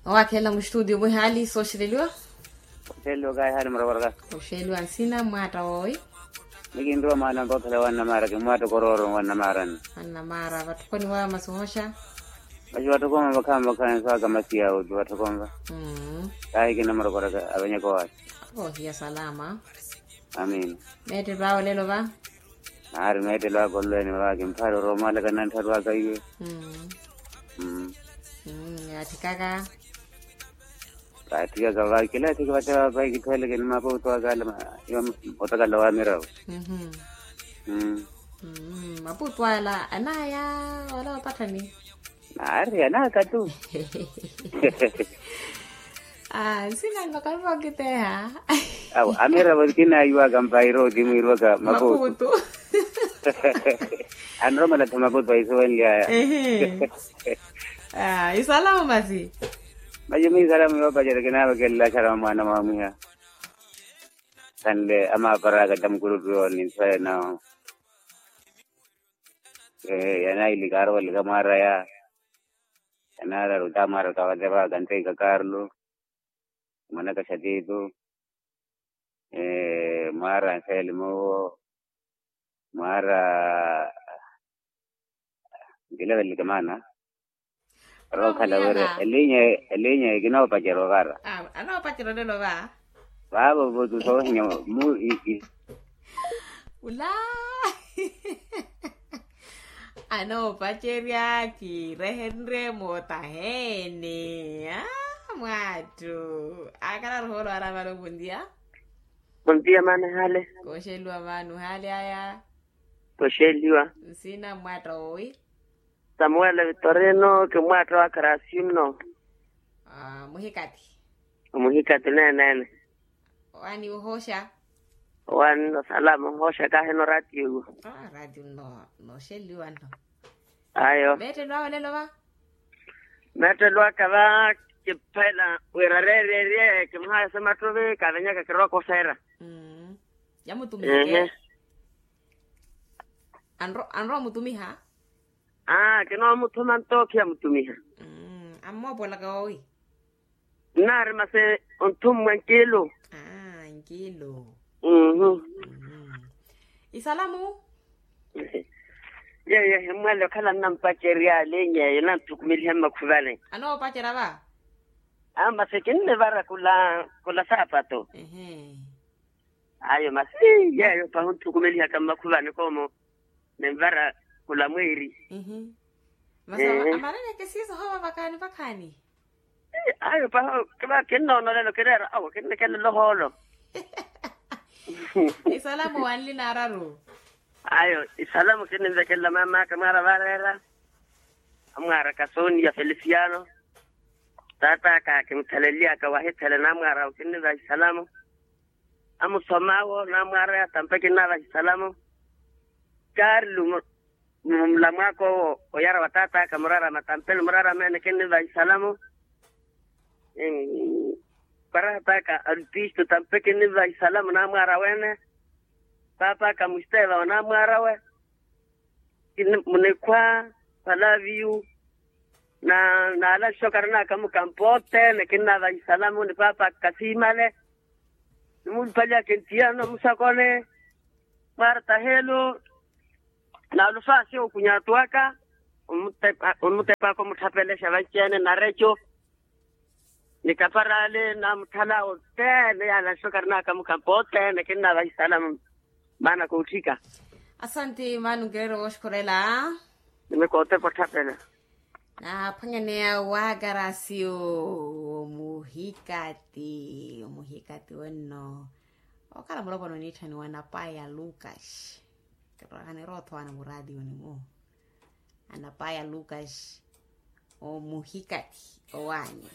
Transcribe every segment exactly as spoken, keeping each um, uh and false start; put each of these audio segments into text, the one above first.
Owakhelela mustudio mwihaali sooxeleliwa. Oxeeliwa kahihaali muravaraka. Oxeeliwa nsina mmwaatta woowi. Mikinriwa mwaana mpoothela wa nnamaara kimmwaatta okorooro wa nnamaarani. Wa nnamaara vatthukoni wa masi ohosha. Masi vatthukoni vakhaani vakhaani saka masi yawo ti vatthukoni va. Kahi kinamurokoraka avenyaka owaasi. Ohiya salama. Amiina. Meettelo awe olelo va. Naari meettelo aka olelo ene va kimphaari oroomalaka nanttharu aka iwe. Yaathikaka. Kaathikaka va kila athiki vate vava ikithooleke ni mapuutu aka ale otakala wa miravo. Mapuutu ala anaaya wala wapatthani. Naari anaaka tu. Nsina nno karipa okiteeha. Amiravo kinaayiwaka mpairo ti mwiiriwaka mapuutu. Anromela tho mapuutu aisuwenlyaya. Isalamu masi. Masi mwi isalamu yoopacerya kinaavakelela axarama mwaana mwaamwiha. Sanle amaaparaka ta mukurutu yooni nso enawo. Yanaili kaarovalika mwaaraya. Yanaararu ta mwaaraka vateraka nteika karlo. Mwanaka xatitu. Mwaara nxeeli muwo. Mwaara nkilevelelike maana. Orookhala wira elinya elinya ekinoopacerya ovara. Anoopacerya olelo va. Vaavo votu soohinya mu. Ula. Anoopacerya kiirehenrye mootaheeni. Mwaattu. Akhala aruhoolo aramala ovunliya. Ontiya maana ehale. Kooxeliwa maana ohale aya. Kooxeliwa. Nsina mmwaatta woowi. Samuwele vitorino kimmwaatta wa karasino. Muhikati. Muhikati neenene. Owaani ohosha. Owaani no salama ohosha kahi no ratio iwo. Ratio no noxeliwa no. Ayo. Meettelo awe olelo va. Meettelo aka va. Kiphela wira reererye kimuhayasa emattuvi kavenyaka kirokosa era. Yamutumiheke. Anrowa omutumiha. Aa kinoomuthuma nto khiyamutumiha. Ammoopolaka woowi. Nnaari masi onthummwa nkilu. Nkilu. Isalamu. Yeeyo ehimmwale okhala nnampacerya linya eyo nanthukumeliha mmakhuvale. Anoopacerya va. Aa masi kinnivara khula khula saapato. Ayo masi yeeyo pahi onthukumelihaka mmakhuvani koomo. Ninvara khula mweeri. Masi amananeke siiso hoowa vakhaani vakhaani. Ayo pahi kinnoonolela kireera awo kinnekelela ohoolo. Isalamu wanli naararu. Ayo isalamu kinninvekelela maam'aka mwaara vareera. Amwaaraka sooni ya felisiano. Taat'aka kimuthaleely'aka wahithela naamwaara awo kinniva isalamu. Amusom'awo naamwaar'aya tampe kinnaavaha isalamu. Karlu mulamu aka owo oyara wa taat'aka murarama tampe ni murarama ene kinnivaha isalamu. Parahat'aka alpisto tampe kinnivaha isalamu naamwaar'awe ene. Paap'aka musteva wa naamwaar'awe. Munikhwa palaviyu. Na naala nxokaran'aka mukampo othene kinnaavaha isalamu ni paap'aka kasiimale. Nimuulupali aka entiyano musakoni. Mwaarta helo. Naalufaasi okunyatu aka. Onmutep'aka omutthapelexa vanci-ene nareco. Ni kaparale naamutthalawo othene yaala nxokaran'aka mukampo othene kinnaavaha isalamu. Maana kootthika. Asanti maana onkireera wooxukhurela. Nimikootepa otthapela. Naaphwanyaneya waakarasiyo. Omuhikati omuhikati wenno. Okhala mulopwana oniitthaniwa anapaya lucas. Kirowa khaniroothwa ana muraatiyo nimu. Anapaya lucas. Omuhikati owaani.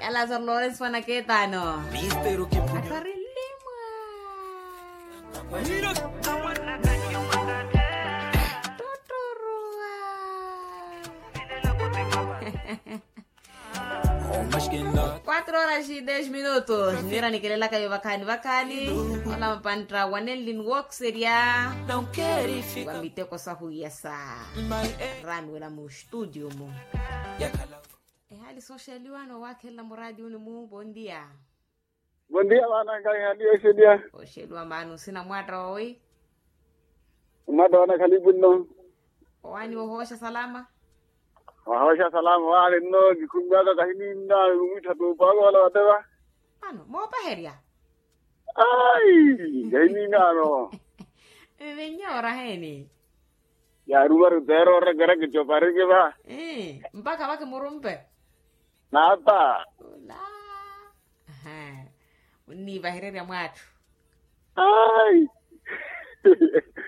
Yalazaro lawrence mwanaketano. Atwarilimwa. Tuturuwa. Quatro horas e dez minutos nira nikelelaka yo vakhaani vakhaani. Ola mapantta wanenli nwookserya. Wa miteko sahu yasa. Raani wela mu studio mu. Soxeliwa noowakhelela muraatiyuni mu bondia. Bondia vaana nkaihaliya oxeliya. Oxeliwa maana osina mwaatta owi. Omwaatta wanakhalipu nno. Owaani wohooxa salama. Wahooxa salama waani nno kikhumiwaka kahininna. Mwittha tuupa aka wala wateva. Ano moopaherya. Ayi, kahininano. Mmenye oraheeni. Yaarumaru teera orekereke copareke va. Mpakha vakimurumpe. Naapa. Ula. Munniivahererya mwaattu. Ayi.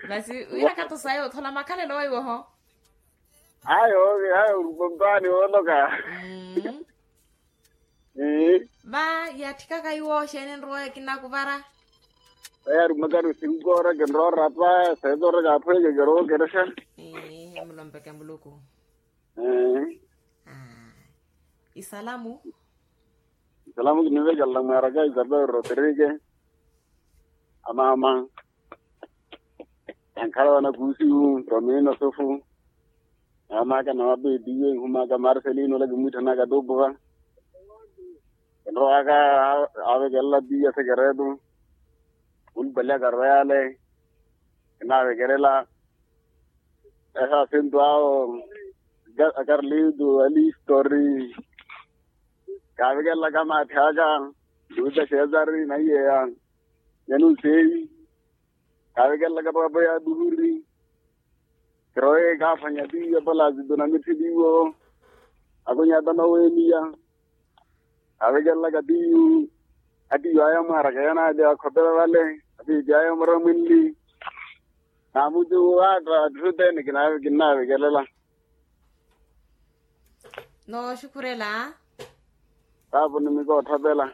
Masi wira katusayo othola makhalelo weiwoho. Ayo. Ayo. Mpaani wooloka. Va yatthikaka iwo xeeni enrowa ekinakuvara. Vayarumakani osinkora kinroorapa. Seetoreka aphweke kirookerexa. Emulompeke muluku. Isalamu. Isalamu kinivekelela mwaaraka isabel rodrigue. Amaama. Yankhala wanakuusiwu romino sufu. Naamaka nawapeetiwe nhumaka marcelino ola kimwitthanaka tuupuva. Enrowaka. Aavekelela tiya sekeretu. Mulupaliyaka royale. Kinaavekelela. Ehasintu awo. Akarlito alistori. Kaavekelelaka maathi aka. Luta cesari na iyeya. Yanuseyi. Kaavekelelaka papo ya duhuri. Kirowe kaaphwanya tiyo palazitu na mitthiliwo. Akunyata noweeniya. Kaavekelelaka tiyo. Atiyo aya mwaaraka yanaali akhopela vale. Atiipi aya muramwinli. Naamuti waatta atthu tene kinnaavekelela. Nooxukhurela. Taapuni mikoothapela.